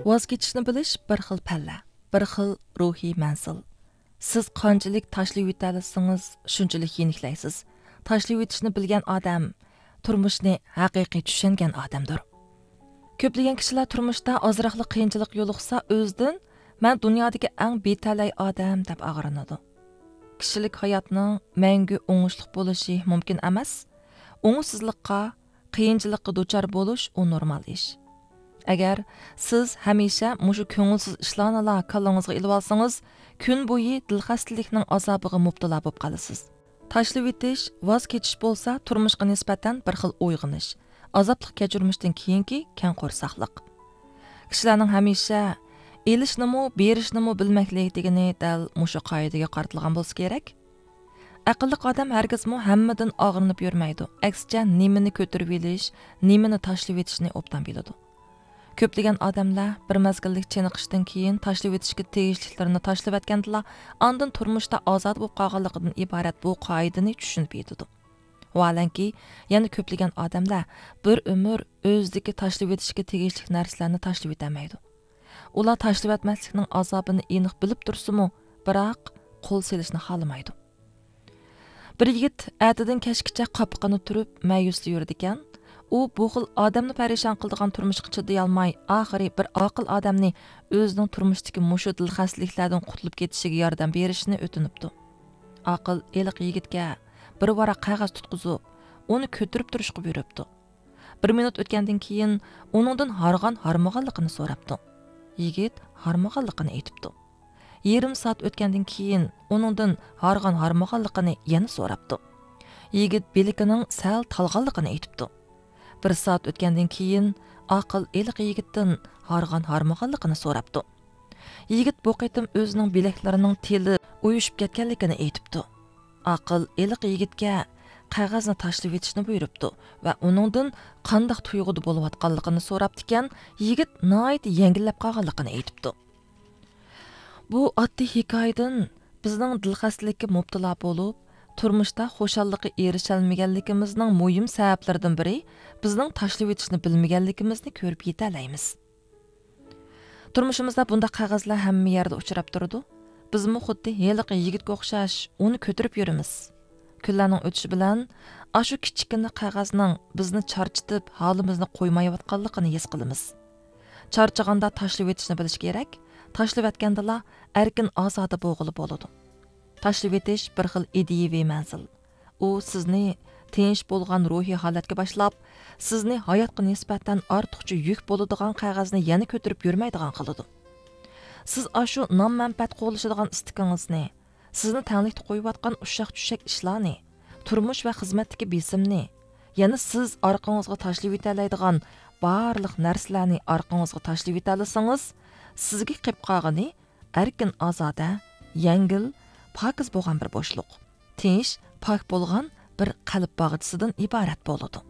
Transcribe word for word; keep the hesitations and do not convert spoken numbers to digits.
ۋاز كېچىشنى بىلىش بىر خىل پەللە، بىر خىل روھىي مەنزىل. سىز قانچىلىك تاشلىۋېتەلىسىڭىز، شۇنچىلىك يېنىكلەيسىز. تاشلىۋېتىشنى بىلگەن ئادەم تۇرمۇشنى ھەقىقىي چۈشەنگەن ئادەمدۇر. كۆپلىگەن كىشىلەر تۇرمۇشتا ئازراقلا قىيىنچىلىق يولۇقسا، ئۆزىدىن «مەن دۇنيادىكى ئەڭ بىتەلەي ئادەم» دەپ ئاغرىنىدۇ. كىشىلىك ھاياتنىڭ مەڭگۈ ئوڭۇشلۇق بولۇشى مۇمكىن ئەمەس. ئوڭۇشسىزلىققا، قىيىنچىلىققا دۇچار بولۇش، ئۇ نورمال ئىش. ئەگەر سىز ھەمىشە مۇشۇ كۆڭۈلسىز ئىشلارنىلا كاللىڭىزغا ئېلىۋالسىڭىز، كۈن بويى دىلخەستىلىكنىڭ ئازابىغا مۇپتىلا بولۇپ قالىسىز. تاشلىۋېتىش، ۋاز كېچىش بولسا تۇرمۇشقا نىسبەتەن بىر خىل ئويغىنىش، ئازابلىق كەچۈرمىشتىن كېيىنكى كەڭ قورساقلىق. كىشىلەرنىڭ ھەمىشە ئېلىشنىمۇ، بېرىشنىمۇ بىلمەكلىك دېگىنى دەل مۇشۇ قائىدىگە قارىتىلغان بولسا كېرەك. ئەقىللىق ئادەم ھەرگىزمۇ ھەممىدىن ئاغرىنىپ يۈرمەيدۇ، ئەكسىچە نېمىنى كۆتۈرۈۋېلىش، نېمىنى تاشلىۋېتىشنى ئوبدان بىلىدۇ. كۆپلىگەن ئادەملەر بىر مەزگىللىك چېنىقىشتىن كېيىن تاشلىۋېتىشكە تېگىشلىكلىرىنى تاشلىۋەتكەندىلا، ئاندىن تۇرمۇشتا ئازادە بولۇپ قالغانلىقىدىن ئىبارەت بۇ قائىدىنى چۈشىنىپ يېتىدۇ. ۋاھالەنكى، يەنە كۆپلىگەن ئادەملەر بىر ئۆمۈر ئۆزىدىكى تاشلىۋېتىشكە تېگىشلىك نەرسىلەرنى تاشلىۋېتەلمەيدۇ. ئۇلار تاشلىۋەتمەسلىكنىڭ ئازابىنى ئېنىق بىلىپ تۇرسىمۇ، بىراق قول سېلىشنى خالىمايدۇ. بىر يىگىت ئەتىدىن كەچكىچە قاپىقىنى تۈرۈپ، مەيۈسلا يۈرىدىكەن. ئۇ بۇ خىل ئادەمنى پەرىشان قىلىدىغان تۇرمۇشقا چىدىيالماي، ئاخىرى بىر ئاقىل ئادەمنى ئۆزىنىڭ تۇرمۇشتىكى مۇشۇ دىلخەستىلىكلەردىن قۇتۇلۇپ كېتىشىگە ياردەم بېرىشىنى ئۆتۈنۈپتۇ. ئاقىل ھېلىقى يىگىتكە بىر ۋاراق قەغەز تۇتقۇزۇپ، ئۇنى كۆتۈرۈپ تۇرۇشقا بۇيرۇپتۇ. بىر مىنۇت ئۆتكەندىن كېيىن ئۇنىڭدىن ھارغان-ھارمىغانلىقىنى سوراپتۇ. يىگىت ھارمىغانلىقىنى ئېيتىپتۇ. يېرىم سائەت ئۆتكەندىن كېيىن ئۇنىڭدىن ھارغان-ھارمىغانلىقىنى يەنە سوراپتۇ. يىگىت بىلىكىنىڭ سەل تالغانلىقىنى ئېيتىپتۇ. بىر سائەت ئۆتكەندىن كېيىن ئاقىل ھېلىقى يىگىتتىن ھارغان-ھارمىغانلىقىنى سوراپتۇ. يىگىت بۇ قېتىم ئۆزىنىڭ بىلەكلىرىنىڭ تېلى ئۇيۇشۇپ كەتكەنلىكىنى ئېيتىپتۇ. ئاقىل ھېلىقى يىگىتكە قەغەزنى تاشلىۋېتىشنى بۇيرۇپتۇ ۋە ئۇنىڭدىن قانداق تۇيغۇدا بولۇۋاتقانلىقىنى سوراپتىكەن، يىگىت ناھايىتى يەڭگىللەپ قالغانلىقىنى ئېيتىپتۇ. بۇ ئاددىي ھېكايىدىن بىزنىڭ دىلخەستىلىككە مۇپتىلا بولۇپ، تۇرمۇشتا خۇشاللىققا ئېرىشەلمىگەنلىكىمىزنىڭ مۇھىم سەۋەبلىرىدىن بىرى بىزنىڭ تاشلىۋېتىشنى بىلمىگەنلىكىمىزنى كۆرۈپ يېتەلەيمىز. تۇرمۇشىمىزدا بۇنداق قەغەزلەر ھەممە يەردە ئۇچراپ تۇرىدۇ. بىزمۇ خۇددى ھېلىقى يىگىتكە ئوخشاش ئۇنى كۆتۈرۈپ يۈرىمىز. كۈنلەرنىڭ ئۆتۈشى بىلەن ئاشۇ كىچىككىنە قەغەزنىڭ بىزنى چارچىتىپ، ھالىمىزنى قويمايۋاتقانلىقىنى ھېس قىلىمىز. چارچىغاندا تاشلىۋېتىشنى بىلىش كېرەك. تاشلىۋەتكەندىلا ئەركىن ئازادە بولغىلى بولىدۇ. تاشلىۋېتىش بىر خىل ئىدىيىۋى مەنزىل. ئۇ سىزنى تىنچ بولغان روھىي ھالەتكە باشلاپ، سىزنى ھاياتقا نىسبەتەن ئارتۇقچە يۈك بولىدىغان قەغەزنى يەنە كۆتۈرۈپ يۈرمەيدىغان قىلىدۇ. سىز ئاشۇ نان-مەنپەئەت قوغلىشىدىغان ئىستىكىڭىزنى، سىزنى تەڭلىكتە قويۇۋاتقان ئۇششاق-چۈششەك ئىشلارنى، تۇرمۇش ۋە خىزمەتتىكى بېسىمنى، يەنە سىز ئارقىڭىزغا تاشلىۋېتەلەيدىغان بارلىق نەرسىلەرنى ئارقىڭىزغا تاشلىۋېتەلىسىڭىز، سىزگە قېلىپ قالغىنى ئەركىن-ئازادە، يەڭگىل، پاكىز بولغان بىر بوشلۇق، تىنچ، پاك بولغان بىر قەلب باغچىسىدىن ئىبارەت بولىدۇ.